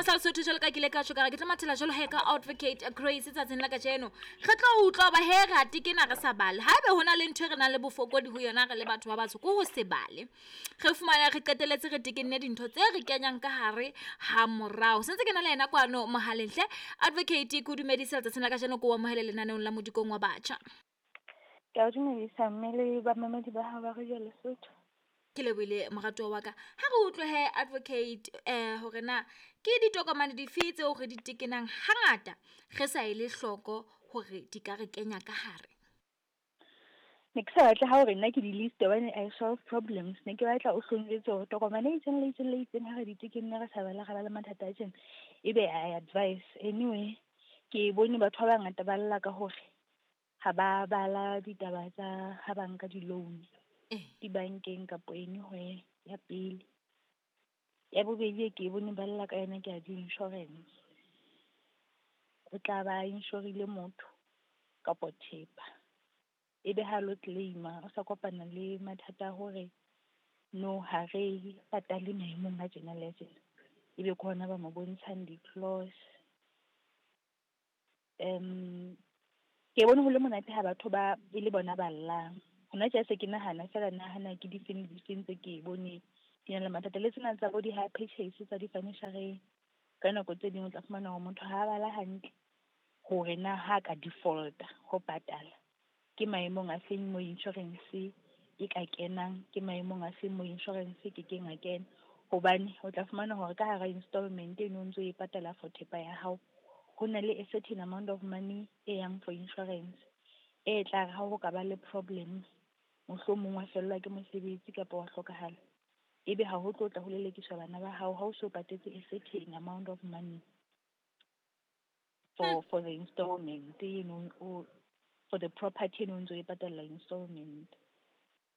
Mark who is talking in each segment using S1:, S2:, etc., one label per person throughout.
S1: Setjhaba sa Lesotho, jwalo ka ke ile ka tjho ka re ke tlo mathela jwalo he ka Advocate Grace tsatsing la kajeno. Re tlo utlwa hoba he re a tekena re sa bale. Haebe ho na le ntho e re nang le bofokodi ho yona re le batho ba batsho, ke ho se bale. Re fumana re qetelletse re tekenne dintho tse re kenyang ka hare ha morao. Sentse ke na le yena kwano mohaleng hle. Advocate, ke o dumedise letsatsing la kajeno, ke o amohele lenaneong la Modikong wa Batjha.
S2: Ke a o dumedisa mme le bamamedi ba hao ba Radio Lesotho.
S1: Ke lebohile moratuwa wa ka. Ha re utlwe he Advocate hore na ke ditokomane dife tseo re di tekenang hangata re sa ele hloko hore di ka re kenya ka hare.
S2: Ne ke sa batle ha hore nna ke di-list hobane I solve problems. Ne ke batla o hlonjwetse hore tokomane e itseng le itseng le itseng ha re di tekenne re sa bala re ba le mathata a tjena. Ebe I advise. Anyway, ke bone batho ba bangata ba lla ka hore ha ba bala ditaba tsa ha ba nka di-loan dibankeng kapo anywhere ya pele. Ya bobedi e ke bone ba lla ka yona ke ya di-insurance. O tla ba insure-ile motho kapo thepa. Ebe ha lo claim-a o sa kopana le mathata a hore no ha re patale maemong a tjena le a tjena. Ebe ke hona ba mo bontshang di-clause. Ke bone ho le monate ha batho ba e le bona ba llang. Hona tje se ke nahana feela nahana ke difeng le difeng tse ke bone di na le mathata. Le tsena tsa bo di-hire purchase tsa di-furniture-reng. Ka nako tse ding o tla fumana hore motho ha bala hantle hore na ha ka default-a ho patala ke maemong a feng mo insurance e ka kenang, ke maemong a feng mo insurance e kekeng a kena. Hobane o tla fumana hore ka hara installment eno o ntso e patala for thepa ya hao, ho na le a certain amount of money e yang for insurance. E tla re ha ho ka ba le problem, mohlomong wa fellwa ke mosebetsi kapa wa hlokahala, ebe ha ho tlo tla ho lelekiswa bana ba hao ha o so patetse a certain amount of money for the installment eno o for the property eno o ntso e patalla installment.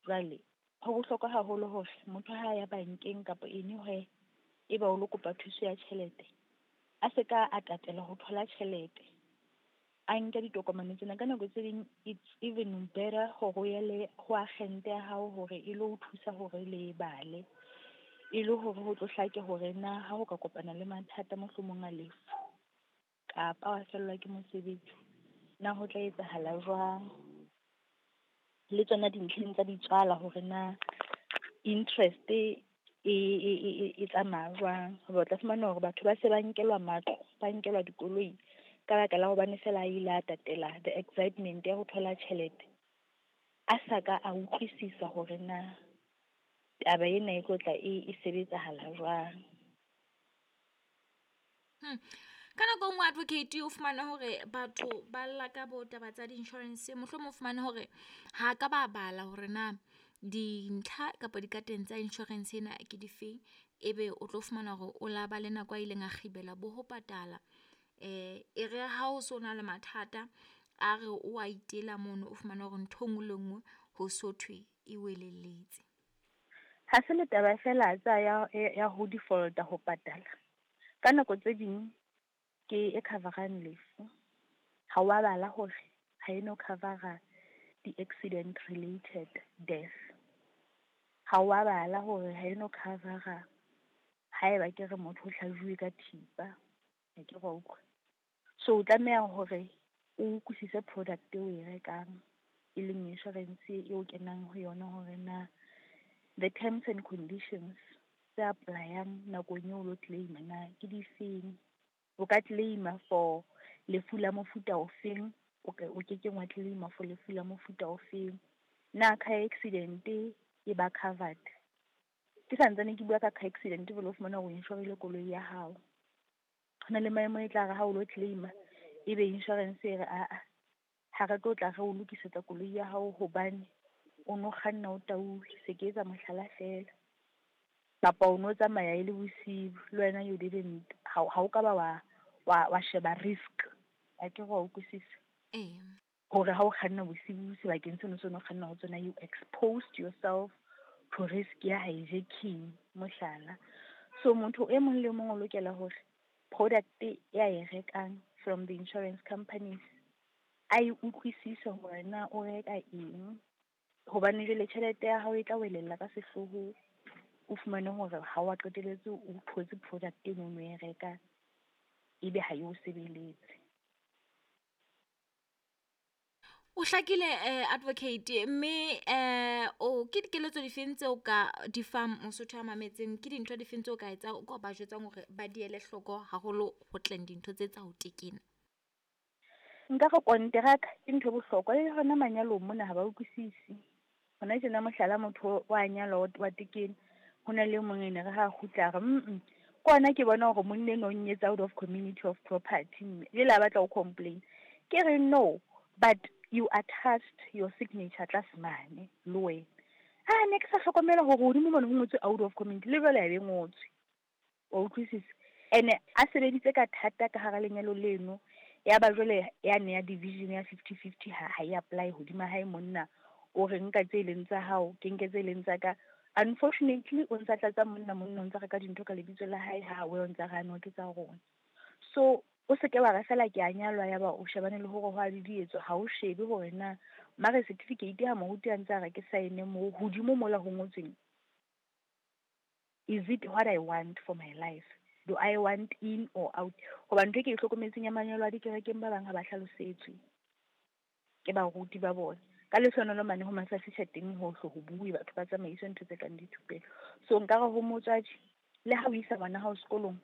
S2: Jwale ho bohlokwa haholo hore motho ha ya bankeng kapa anywhere e ba o lo kopa thuso ya tjhelete, a se ka a tatela ho thola tjhelete. A nke ditokomane tsena. Ka nako tse ding it's even better hore o ye le ho agent ya hao hore e lo o thusa hore le bale. E le hore ho tlo hlake hore na ha o ka kopana le mathata mohlomong a lefu kapa wa fellwa ke mosebetsi, na ho tla etsahala jwang. Le tsona dintlheng tsa ditswala hore na interest e tsamaya jwang. Hoba o tla fumana hore batho ba se ba nkelwa matlo, ba nkelwa dikoloi ka baka la hobane feela a ile a tatela the excitement ya ho thola tjhelete. A sa ka a utlwisisa hore na taba ena e tlo tla e sebetsahala jwang.
S1: Ka nako e nngwe advocate o fumane hore batho ba lla ka bo taba tsa di-insurance, mohlomong o fumane hore ha ka ba bala hore na dintlha kapa dikateng tsa insurance ena ke difeng. Ebe o tlo fumana hore o la ba le nako a ileng a kgibela bo ho patala. E re ha o so na le mathata a re o a itela mono, o fumane hore ntho e nngwe le nngwe ho so thwe e welelletse.
S2: Ha se le taba feela tsa ya ho default-a ho patala. Ka nako tse ding ke e cover-ang lefu. Ha wa bala hore ha eno cover-a di-accident related death. Ha wa bala hore ha eno cover-a haeba ke re motho o hlajuwe ka thipa. Ha ke re wa utlwa. So o tlameha hore o utlwisise product eo o e rekang, e leng insurance eo kenang ho yona hore na the terms and conditions tse apply-ang nakong eo o lo claim-a na ke difeng. O ka claim-a for lefu la mofuta ofeng, o kekeng wa claim-a for lefu la mofuta ofeng. Na car accident e ba covered? Ke santsane ke bua ka car accident jwale o fumana hore o insure-ile koloi ya hao. Ho na le maemo e tla re ha o lo claim-a ebe insurance e re aa ha re tlo tla re o lokisetsa koloi ya hao hobane o no kganna o tauwe, se ke etsa mohlala feela. Kapa o no tsamaya e le bosiu le wena you didn't ha o ka ba wa sheba risk. Ha ke re wa utlwisisa? Hore ha o kganna bosiu sebakeng seno seo no kganna ho tsona, you exposed yourself to risk ya hijacking mohlala. So motho e mong le mong o lokela hore product ya e rekang from the insurance companies a e utlwisise hore na o reka eng. Hobane jwale tjhelete ya hao e tla welella ka sehloho, o fumane hore ha wa qetelletse o thotse product eno o no e reka Ebe ha e o sebeletse.
S1: O hlakile advocate, mme o ke dikeletso difeng tseo ka di fang Mosotho a mametseng? Ke dintho difeng tseo ka etsang, o ka ba jwetsang hore ba di ele hloko haholo ho tleng dintho tse tsa ho tekena?
S2: Nka re konteraka ke ntho e bohlokwa le hona manyalong mona ha ba utlwisisi. Hona tjena mohlala motho wa nyalwa wa tekena, ho na le e mong ene re ha kgutla a re ke hona ke bona hore monna enwa o nnyetse out of community of property mme. Jwale a batla ho complain. Ke re no, but you attached your signature tlase mane le wena. Ah, ne ke sa hlokomela hore hodimo mona ho ngotswe out of community, le jwale ya be ngotswe. Wa utlwisisa? Ene a sebeditse ka thata ka hara lenyalo leno, ya ba jwale yane ya division ya 50-50 ha e apply hodima hae monna. O re nka tse leng tsa hao, ke nke tse leng tsa ka. Unfortunately, o ntsa tlatsa monna, monna o ntsa reka dintho ka lebitso la hae, ha we o ntsa re ano ke tsa rona. So o se ke wa re fela ke a nyalwa ya ba o shebane le hore ho a didietswa, ha o shebe hore na marriage certificate ha moruti a ntse a re ke sign moo hodimo mola ho ngotsweng. Is it what I want for my life? Do I want in or out? Hoba ntho e ke e hlokometseng ya manyalo a dikerekeng ba bang ha ba hlalosetswe ke baruti ba bona. Ka lehlohonolo mane ho Masafisha teng hohle ho bue batho ba tsamaiswe ntho tse kang dithupelo. So nka re ho motswadi le ha o isa ngwana hao sekolong,